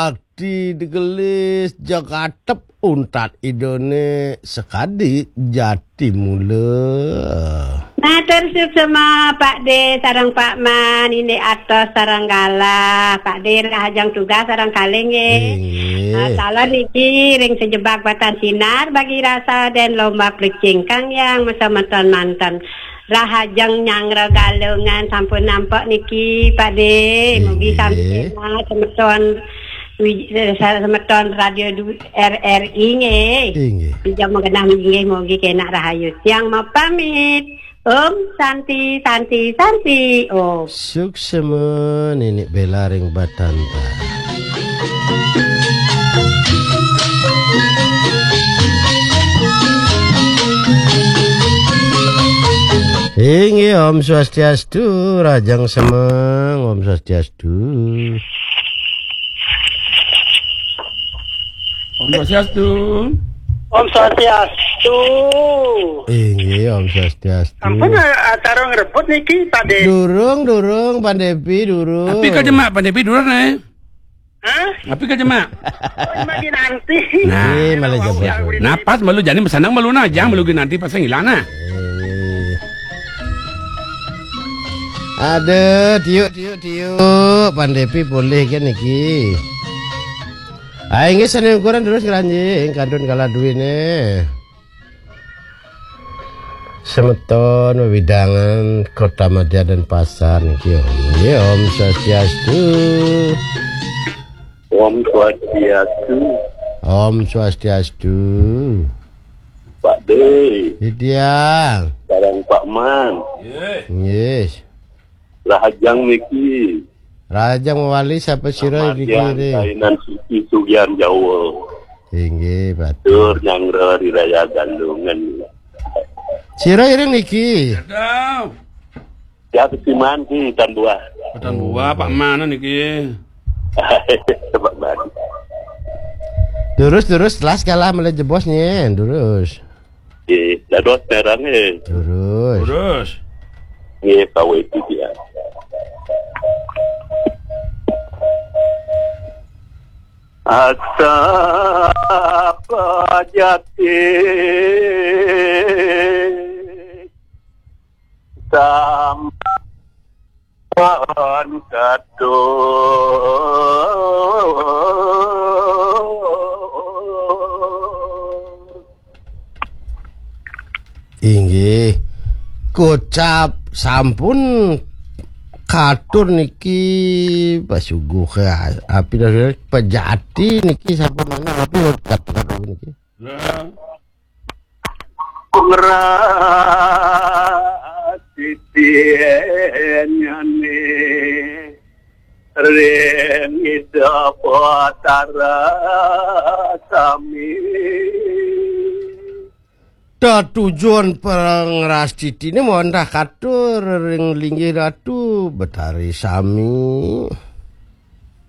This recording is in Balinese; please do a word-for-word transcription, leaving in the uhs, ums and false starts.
Ati digelis jagatep untat idone sekadi jati mula. Matur suksma Pak De sareng Pak Man, indik atos sareng galah. Pak De rahajeng tugas sareng kalih nggih. Inggih. Ah, salam niki ring sejebak batan sinar bagi rasa dan lomba plecing kang yang mesemeton manten. Rahajeng nyanggra Galungan sampun nampek niki, Pak De. Mugi Inggih. Sami sehat semeton wi-, eh, semeton Radio du-, R R I nggih. Inggih. Ija magenah inggih mugi kenak rahayu. Tiang mapamit. Om Santi, Santi, Santi, Om. Suksma Nenek Bela ring Batanta. Inggih, Om Swastiastu, rahajeng semeng, Om Swastiastu. Om Swastiastu. Om Swastiastu. Inggih, Om Swastiastu. Ampun, eh, acara ngrebut niki, Pak De. Durung, durung, Pak Depi, durung. Tapi ka jemak, Pak Depi, durung, eh. Hah? Tapi ka jemak. Oh, lagi nanti. Nah. Nggih, malah jebos. Napas malu jani masanang malu nah, jang malu nanti pasang ilang nah. Eh. Aduh, tiuk, tiuk, tiuk. Pak Depi polih kan niki. Ah, inggih, sane ukuran terus ngranjing, kantun kalah duwene. Semeton wewidangan Kota Madya dan Pasar niki, Om. Nggih, Om Swastiastu. Om Swastiastu. Om Swastiastu. Pak De. Titiang. Sareng Pak Man. Nggih. Rahajeng niki. Rahajeng mawali sapa sira niki? Kainan suci sugihan Jawa. Inggih, Pak. Tur nyanggra ri raya Galungan. Sira iring niki? Aduh. Ya, kesiman ki, tan buah. Tan buah, Pak Man niki. Pak Man. Terus, terus, telas kalah mulai jebos nih, terus. Nggih, dados terang nggih. Terus. Terus. Nggih, kawit dia. Asa pajati sampan katur. Inggih. Kocap sampun katur niki pasuguh, api pejati niki sampun manah, api katur niki. Lah. Ngrasiti nyane ring Ida Batara sami. Tetujon pangrastitine wantah katur ring linggih Ratu Betari sami.